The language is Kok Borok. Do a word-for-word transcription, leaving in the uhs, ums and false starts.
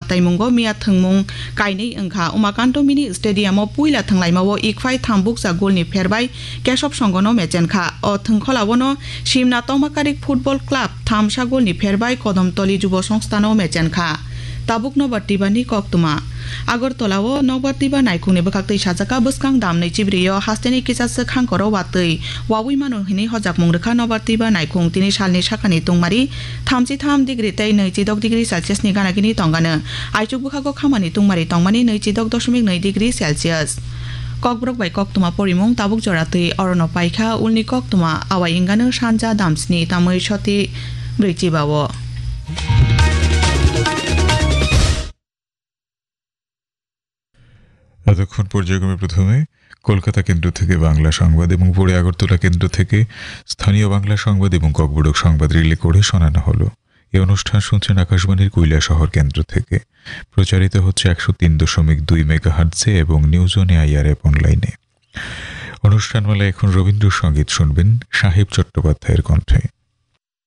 Taimungo miya thwngmung kainwi wngkha. Umakanto Mini Stadium-o puila thwnglaimao Ikphai thambuksa golni pherbai Keshob Songono mechenkha. O thwngkholao no Simna Tongmakarik Football Club thamsa golni pherbai Kodomtoli Jubo Songstano mechenkha. Tabuk Nobar Tibani koktwma. Agartala-o Nobar Tiba naikhungni bwkhaktwi sajaka bwskang damnwi chibrio hasteni kisa swk hangkoro watwi wawi mano hinwi hojakmung rwkha Nobar Tiba naikhung. Tini salni sakani tungmari thamchi tham degree tei nwichi dok degree Celsius ni ganagini tongano. Aichuk bwkhago khamani tungmari tongmani nwichi dok doshmik nwi degree Celsius. Kokborok bai koktwma porimung tabuk jora twi orono paikha, ulni koktwma awai wngano sanja damsni tamwi soti brwi chibao. এতক্ষণ পর্যায়ক্রমে প্রথমে কলকাতা কেন্দ্র থেকে বাংলা সংবাদ এবং পরে আগরতলা কেন্দ্র থেকে স্থানীয় বাংলা সংবাদ এবং ককবরক সংবাদ রিলে করে শোনানো হলো। এই অনুষ্ঠান শুনছেন আকাশবাণীর কৈলাসহর কেন্দ্র থেকে। প্রচারিত হচ্ছে একশো তিন দশমিক দুই মেগাহার্টজে এবং নিউজ অন এআইআর অ্যাপ অনলাইনে। অনুষ্ঠানমালা এখন রবীন্দ্রসঙ্গীত শুনবেন সাহেব চট্টোপাধ্যায়ের কণ্ঠে।